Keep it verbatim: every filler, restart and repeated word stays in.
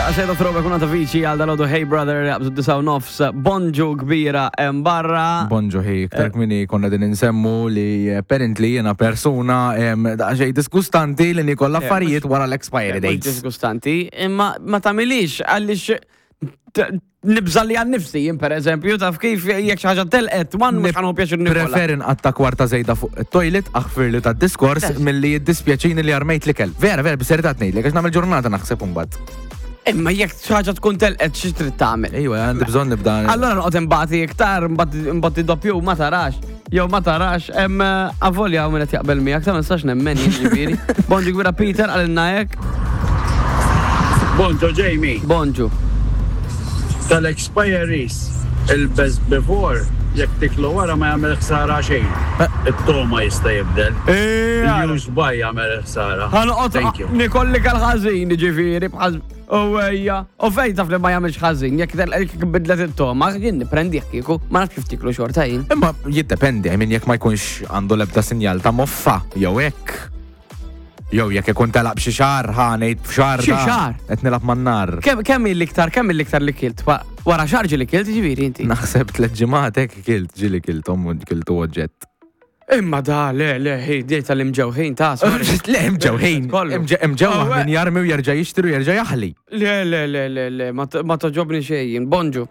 Daqsxejn ta' throwback kuna ta' viċi għal dal-għodu. Hey Brother, jaqbżu disgħa u nofs, bonġu kbira hemm barra. Bonġu ħi, iktar kmieni konna din insemmu li apparently jena persuna em, daqsxejn disgustanti li nikol affarijiet wara l-expiry Mhux dates. disgustanti, imma ma tagħmilix għaliex t- nibża li għan nifsi, jien per eżempju, taf kif, jekk xi ħaġa telqet, one mhux ħa nieħu pjaċir nikolha. Preferi nqatta kwarta zejda fuq it-toilet, aħfir li ta' diskors, milli jiddispjaċini li armejt l-ikel. Vera, vera, bis-serjetà ngħidlek, għax nagħmel ġurnata naħseb imbagħad. Imma jekk xi ħaġa tkun telqet, xi trid tagħmel? Ejwa, għandi bżonn nibda. Allora noqgħod imbati iktar, imbati doppju, ma tarax. Jew ma tarax, hemm avolja hawn min qed jaqbel miegħek, ta' ma nistax nemmen jien ġifieri. Bonġu kbira Peter qalilna hekk. Bonġu Jamie. Bonġu. Tal-expiries, il-best before, jekk tiklu wara ma jagħmel ħsara xejn. It-togħma jista' jibdel. Il-use by jagħmel ħsara. Ħa noqgħod Thank you. nikolli kal-ħażin ġifieri bħal U ejja, u fejn taf li ma jagħmilx ħażin, jekk jekk bidlet it-togħma, jien niprendi kieku, ma nafx kif tiklu xorta jien. Imma jiddependi, I mean, jekk ma jkunx għandu l-ebda sinjal ta' moffa, jew hekk. Jew jekk ikun telaq b'xi xahar, ħa ngħid b'xahar. Xi da, xahar? Qed nilgħab man-nar. Kemm kemm l-iktar, kemm l-iktar li kilt? Wa- Wara xahar ġieli kilt ġifieri inti. Naħseb tliet ġimgħat hekk kilt, ġieli kiltom u kiltu oġġett. Imma da, le, le, hi, di tal-imġewħin ta' sorry. Le, imġewħin. Kollu. Imġewħ Oh, min jarmi u jerġa' jixtri u jerġa' jaħli. Le, le, le, le, le, ma t- ma toġobni xejn. Bonġu.